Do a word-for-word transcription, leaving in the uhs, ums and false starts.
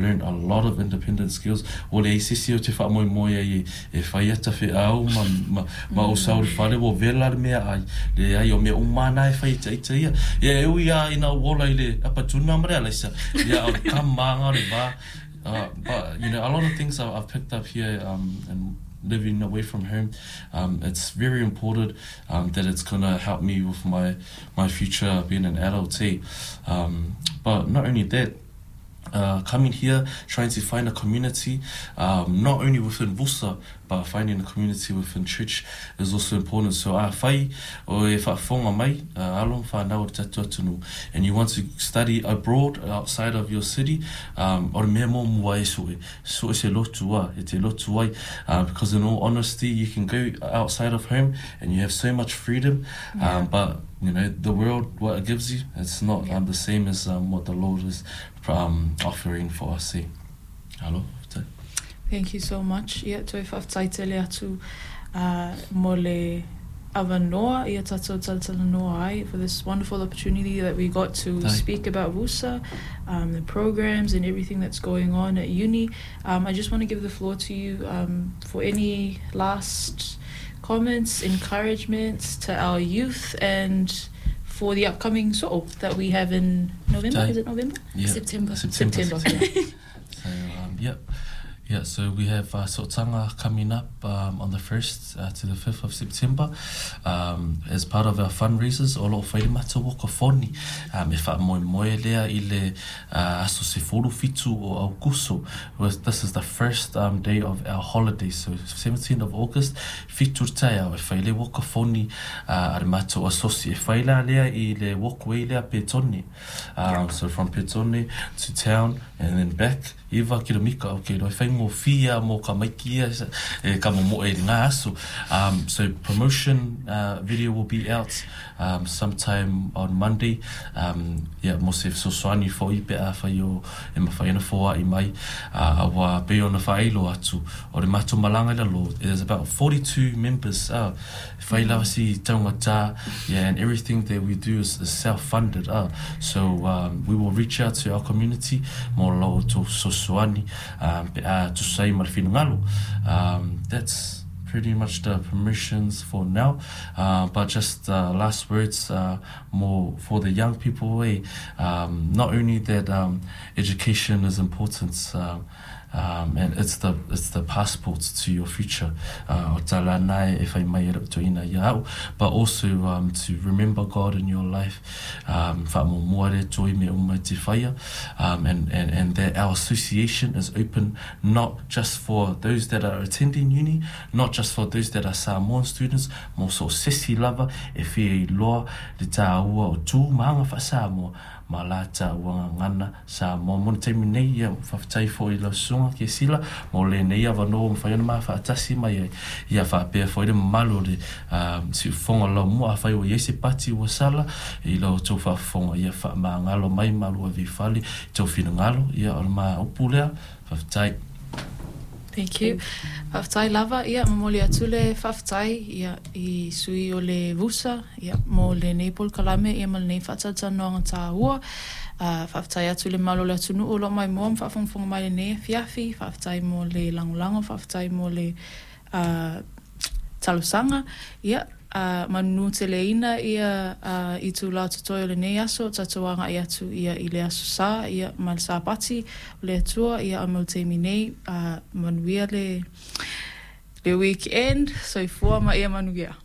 learned a lot of independent skills. O le sisi o te wha moi moi e e whai ata fe au ma ma ma o sauri whare o vela le mea ai le ai o mea umana e whai ita ita ia. Ia e ui a ina wola i le apatuna mare ala isa. Ia o kamanga le va. Uh, but you know, a lot of things I've, I've picked up here um, and living away from home, um, it's very important um, that it's gonna help me with my my future being an adult. Eh? Um, but not only that, uh, coming here, trying to find a community, um, not only within Vusa, but finding a community within church is also important. So afai o e faafofoga mai, uh, alo whanau o te tatu atunu, and you want to study abroad, outside of your city, um, o le mea mo mua e soe, so e se lotu a, e te lotu ai, uh, because in all honesty, you can go outside of home and you have so much freedom, Yeah. um, but you know, the world, what it gives you, it's not Yeah. um, the same as um, what the Lord is um, offering for us. Eh? Alo, faafetai. Thank you so much. Ia, toe faafetai tele atu uh, mo le avanoa ia tatou talatalanoa ai for this wonderful opportunity that we got to Tai. speak about VUSA, um, the programs and everything that's going on at uni. Um, I just want to give the floor to you um, for any last comments, encouragements to our youth and for the upcoming so'o that we have in November. Tai. Is it November? Yeah. September. September. September, yeah. So, um, yep. Yeah, so we have uh, Sotanga coming up um, on the first uh, to the fifth of September um, as part of our fundraisers. O lo whairi mata waka foni. Um, e wha moe moe lea i le uh, aso se furu fitu o Aukuso. Was- This is the first um, day of our holiday. So seventeenth of August, fitu tai au e whaile waka foni uh, are mato asosi. E whaila lea i le walkway lea Petone. Um, so from Petone to town and then back, iwa kilomika, okay, no, e whai ngō whia mō ka maikia e ka mo mo e ngā aso. Um, so promotion uh, video will be out um, sometime on Monday. Um, yeah, mo se fesoasoani foi pe a whai o e mawhai ana fōa i mai. Uh, awa pe ona whailo atu o le mato malanga i lalo. There's about forty-two members. Uh, whai lava si taunga tā, yeah, and everything that we do is, is self-funded. Uh. So um, we will reach out to our community mo lo to fesoasoani um, pe a tusai ma le finagalo. Um, that's pretty much the permissions for now. Uh, but just uh, last words uh, more for the young people. Eh? Um, not only that um, education is important, uh, um, and it's the it's the passport to your future. Uh, o tala nai e whai mai e roto ina ia au, but also um, to remember God in your life, um, wha mo mua re toi me uma te whaia, um, and, and, and that our association is open not just for those that are attending uni, not just for those that are Samoan students, mo so sesi lava e whia i loa le tā ua o tū maanga wha Samoa, ma la tā ua ngana Samoa. Mo ne taimi nei, ia, faafetai foi i lau susuga ke sila mo lenei avanoa ua mafai ona mafaatasi mai ai ia faapea foi le mamalu o le um, siufofoga laumua. Afai ua iai se pati ua sala i lau tou faafofoga ia faamagalo mai malu ave i fale i tou finagalo ia o le maupu lea faafetai. Thank you. Faafetai lava, ia, momoli atu le faafetai, ia, i sui o le VUSA, ia, mo lenei polokalame, ia, ma lenei faatalatalanoaga taua. Uh, faafetai atu le malo le atunuu o loo maimoa ma faafogafoga mai lenei afiafi. Faafetai mo le lagolago, faafetai mo le uh, talosaga. Ia, uh, manunu teleina ia uh, i tūlā totoe o lenei aso, tatou agai atu ia i le aso Sā, ia, ma le Sapati o le Atua, ia, a mo le taimi nei, uh, manuia le, le weekend, soifua ma ia manuia.